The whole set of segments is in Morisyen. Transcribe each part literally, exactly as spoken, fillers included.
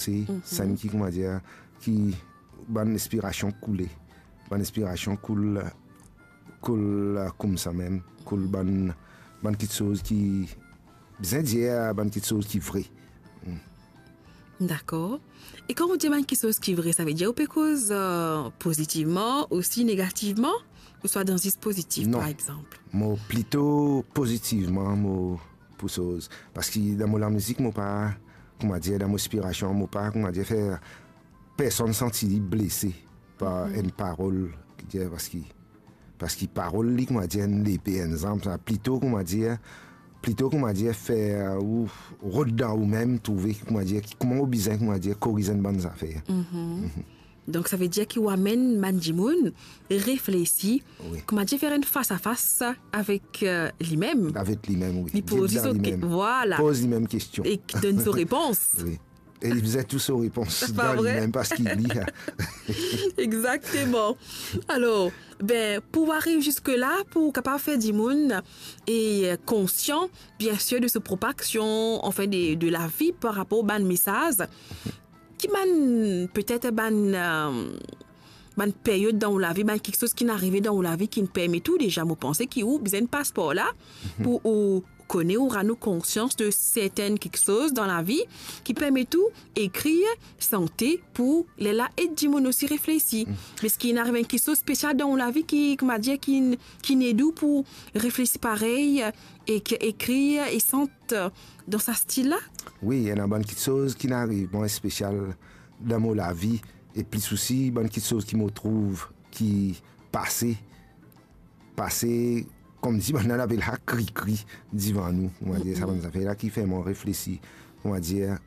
se, mhm, sann ki, koumadir, ki bann inspirasion koule. Bann inspirasion koul, koul, koumsa mem, koul bann, bann kiksoz ki, bizin dir, bann kiksoz ki vre. Dakor. E kan ou dir bann kiksoz ki vre, savedir ou pe koz, eh, pozitivman, osi negativman, ouswa dan zis pozitif, non, par exanp? Mo plito pozitivman, mo pou soz. Parski dan mo lamizik, mo pa, koumadir, dan mo inspirasion, mo pa, koumadir, fer personn santi li blese par, mhm, enn parol, ki dir, parski, parski parol li, koumadir, enn lepe, enn zam, sa plito, koumadir, plito, koumadir, fer ou rod dan ou mem, trouve, koumadir, ki, kouma ou bizin, koumadir, koriz enn bann zafer. Mhm. Mhm. Donk, savedir ki ou amenn bann dimoun reflesi, wi, koumadir, fer enn fas a fas avek, eh, limem. Avek limem, wi. Li poz li so ke-, vwala. Poz limem kestion. E ki donn so repons. Wi. E li bizin tou so repons dan limem, parski li, a. Exakteman. Alor, ben, pou ariv ziska la, pou kapav fer dimoun e, eh, konsian, biensir, de so prop aksion, anfin, de, de lavi par rapor bann mesaz, ki bann, petet bann, eh, bann period dan ou lavi, bann kiksoz ki'nn arive dan ou lavi ki'nn permet ou deza, mo panse ki ou bizin pas par la, mhm, pou ou kone, ou rann ou konsians de sertenn kiksoz dan lavi ki permet ou ekrir, sante, pou lerla ed dimoun osi reflesi. Mm. Me eski inn ariv enn kiksoz spesial dan ou lavi ki, koumadir, ki, ki'nn ed ou pou reflesi parey, ek ekrir e sant dan sa stil la? Wi, ena bann kiksoz ki'nn ariv mwa spesial dan mo lavi, e plis osi bann kiksoz ki mo trouv ki pase, pase, koumsi bann la apel sa krikri divan nou, koumadir, sa bann zafer la ki fer mwa reflesi, koumadir,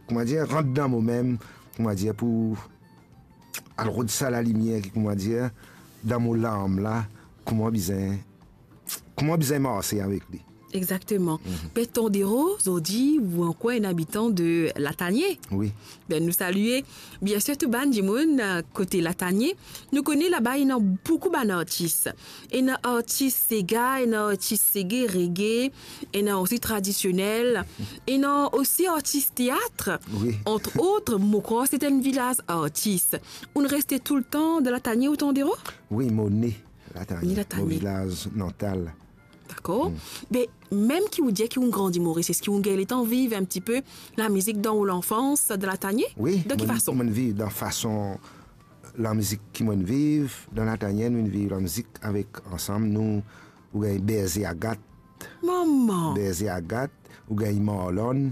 koumadir, rant dan momem, koumadir, pou al rod sa lalimier ki, koumadir, dan mo lam la, kouma bizin, kouma bizin marse avek li. Exakteman. Mhm. Be Tandero, zordi ou ankor enn abitan de Latanie. Wi. Be nou salie, biensir, tou bann dimoun, eh, kote Latanie. Nou kone laba ena boukou bann artis. Ena artis sega, ena artis sege, reggae, ena osi tradisionel, ena osi artis teat. Wi. Entre autres, mo krwar se enn vilaz artis. Ou'nn reste toultan dan Latanie ou Tandero? Wi, mo ne Latanie. Ne Latanie. Mo vilaz natal. Dakor. Mm. Be, mem ki ou dir ki ou'nn grandi Moris, eski ou'nn gagn letan viv enn tipe lamizik dan ou lanfans, dan Latanie? Wi, dan ki fason? Mo'nn viv dan fason lamizik ki mo'nn viv dan Latanie, mo'nn viv lamizik avek, ansam, nou, ou gagn Berze Agat. Mama! Berze Agat, ou gagn Marlon,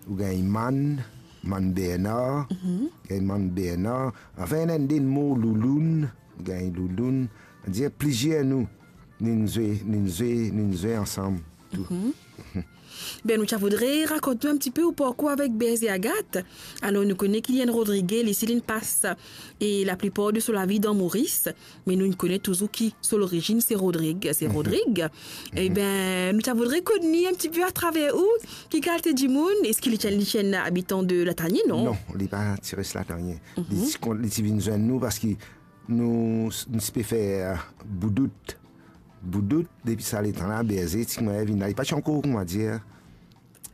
ou gagn Man, Man Bernar, mhm, gagn Man Bernar. Anfin, ena enn de mo Louloun, ou gagn Louloun. Dir plizier nou, nou'nn zwe, nou'nn zwe, nou'nn zwe ansam tou. Mhm. Be, nou ti a voudre rakont nou enn tipe ou parkour avek Berze Agat. Alor, nou kone ki li enn Rodrige, li si li'nn pas, e laplipar de so lavi dan Moris, me nou kone touzour ki so lorizinn se Rodrig, se, mhm, Rodrig. Mhm. Eben, nou ti a voudre kone enn tipe atraver ou, ki kalite dimoun, eski li ti enn, li ti enn abitan de Latanie, non? Non, li pa ti res Latanie. Mhm. Li ti kon-, li ti vinn zwenn nou parski nou, nou ti pe fer boudout. Boudout, depi sa letan la, Berze ti koumadir vinn la. Li pa ti ankor, koumadir,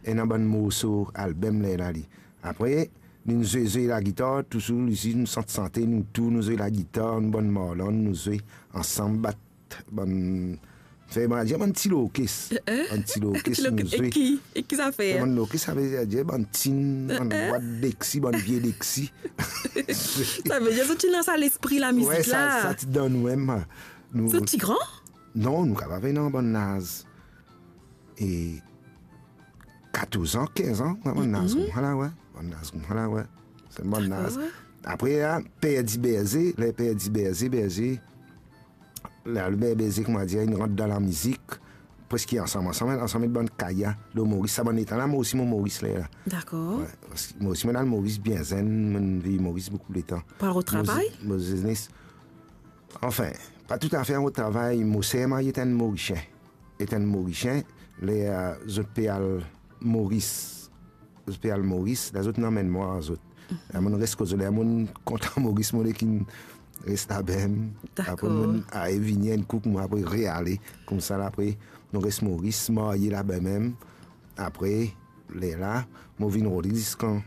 ena bann morso albem lerla li. Apre, nou'nn zwe, zwe lagitar, touzour li si nou sant sante, nou tou, nou zwe lagitar, nou bann Marlon, nou zwe ansam, bat bann, fer, bann, dir bann ti lorkes. Eh, eh? Bann ti lorkes, ti lorkes, nou zwe. E ki, e ki zafer? Bann lorkes, savedir bann tin, eh, bann, eh, bwat Dexi, bann vie Dexi. Savedir zot ti ena sa lespri lamizik la. Wi, sa, sa ti dan nou mem. Nou, zot ti gran? Non, nou kapav ena bann laz, e, katorz an, kinz an, wi, bann laz, mhm, koumsa la, wi. Bann laz koumsa la, wi. Se bann laz. Dakor. Apre la, perdi Berze, ler perdi Berze, Berze, la, Berze, koumadir, inn rant dan lamizik, preski ansam, ansam, ansam ek bann Kaya, lor Moris, sa bann letan la, mo osi mo Moris lerla. Dakor. Wi, parski mo osi, mo'nn al Moris bien zenn, mo'nn viv Moris boukou letan. Pou al rod travay? Mo ze-, mo zenes. Anfin, pa toutafe al rod travay, mo ser marye enn Morisien. Enn Morisien, ler, eh, zot pe al Moris, zot pe al Moris, la zot inn amenn mwa ar zot. Mhm. La mo'nn res kot zot, ler mo'nn kontan Moris, mo le kinn res laba mem. Dakor. Apre mo'nn al vini enn kou, mo apre reale, koumsa la, apre nou res Moris, marye laba mem. Apre, lerla mo vinn rod li ziskan